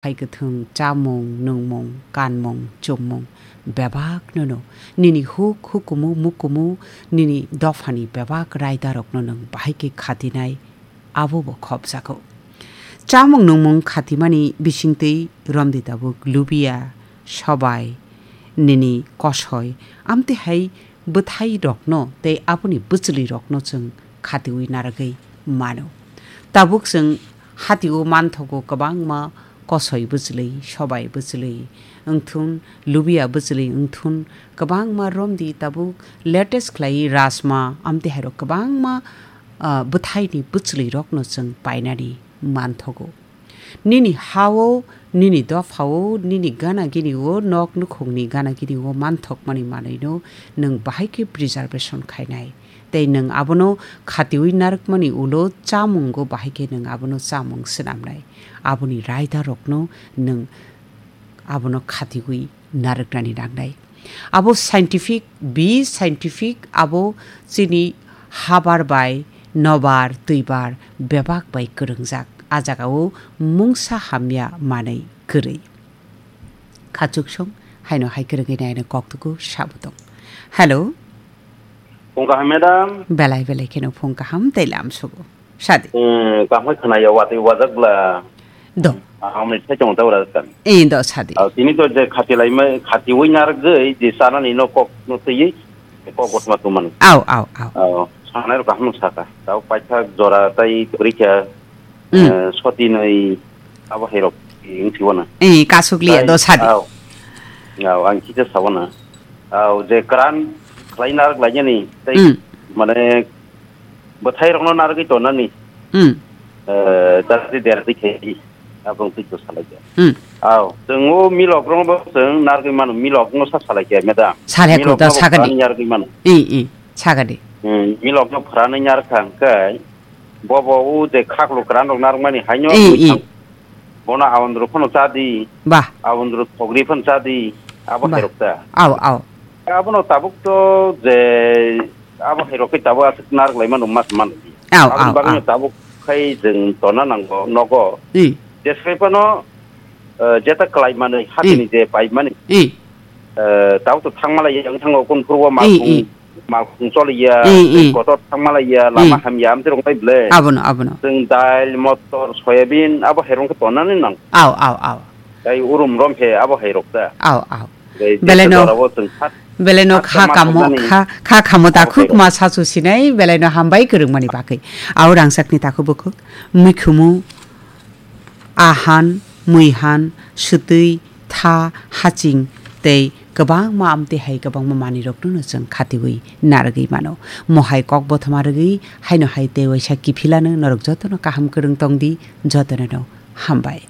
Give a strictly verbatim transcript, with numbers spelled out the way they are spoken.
Hai kwthwng chamung, nungmung, kanmung, chummung bebakno no nini huk hukumu mukumu nini dophani bebak raidarokno nwng bahai khe khatinai, abo bo khopjago. Chamung nungmung khatimani bisingtwi romdi tabuk lubiya, sobai, nini kosoi, amtwi hai bwthairokno tei aboni bwchwlwirokno chwng khatiui narwgwi mano. Tabuk chwng hatio manthogo kwbangma kosoi bwchwlwi, sobai bwchwlwi wngthun, lubiya bwchwlwi wngthun, kwbangma romdi tabuk latest khlai rajma, amtwi hairok kwbangma, ah, bwthaini bwchwlwirokno chwng painani manthogo. Nini ha-o, nini dopha-o, nini gana gini-o, nok nukhungni gana gini-o manthokmani manwino nwng bahai khe preservation khainai. Tei nwng abono khatiui narwkmani ulo chamungo bahai khe nwng abono chamung swnamnai. Aboni raidarokno nwng abono khatiui narwknani nangnai. Abo scientific, be scientific, abo chini habar bai, nobar, twibar, bebak bai kwrwngjak. A jagao mungsa hamya manwi kwrwi. Khachuksong haino hai kwrwngwi naino koktugo sabo tong. Hello. Phung kaham, madam? Belai belai kheno phung kaham tei lam sugo. Sadi. Hmm, kaham khwnayo, watwi wajak bla. Do. Aham ni thai chong tawra kan. Eh, do sadi. Aw, tini to je khati lai mai, khatiui narwgwi, je sana ni no kok no twi, kok gotma tuman. Aw, aw, aw. Aw, sana ro kaham saka. Tau paitha jora tai kurikha, Hmm. eh, soti noi abo herok, ing siwana. Eh, kasuk liya, Tai, do sadi. Aw. Aw, ang kisa sawana. Aw, je kran khlai narwk lai ni, tai Hmm. mane bwthairokno narwgwi tonani. Hmm. Eh, jati derdi khe, abong twi to salai khe. Hmm. Aw, chwng o milok rokno bo chwng narwgwi mano, milok no sa salai khe, madam. Salai khe Milok to no bo sagadi. Phwrani narwgwi mano. I, i, sagadi. Hmm, milok no phwrani narwkha hwnkhe, bo bo o je khaklo kwran rok narwkmani haino I, i. Bono awandru phano chadi. Bah. Awandru thogri phano chadi. Abo Bah. Herok ta. Aw, aw. Abono tabuk to je abo herok khe tabuk aswk narwk lai mano mas man. Aw, Aboni aw, bagwi aw. Tabuk khai jeng tona nango nogo. I. Jesai phano, eh, jeta klai mani hatini I. Je pai mani. I. Eh, tabuk to thangma lai yang thango kun phurbo ma I, khung, i. Ma khung choli ya, I, i. Kotor thangma lai ya, lama I. Ham ya, amte rong bai ble. Abono, abono. Jeng dail, motor, soyabin, abo herong khe tona ni nang. Aw, aw, aw. Tai urum rom he abo hai rok ta. Aw, aw. Tei Belai jesa no, jora bo chwng kha, belai no kha kha kamo, kha, kha kamo ta abo hai khuk rok. Ma sasu sinai, belai no hambai kwrwngmani bagwi. Aw rangchakni takhuk bukhuk, mikhumu, ahan, muihan, swtwi, tha, haching, tei kwbangma amtwi hai kwbangma manwi rokno no chwng khatiui narwgwi mano. Mohai kok bothoma rwgwi, haino hai tei waisa kiphilano norok jotono kaham kwrwng tongdi, jotono no hambai.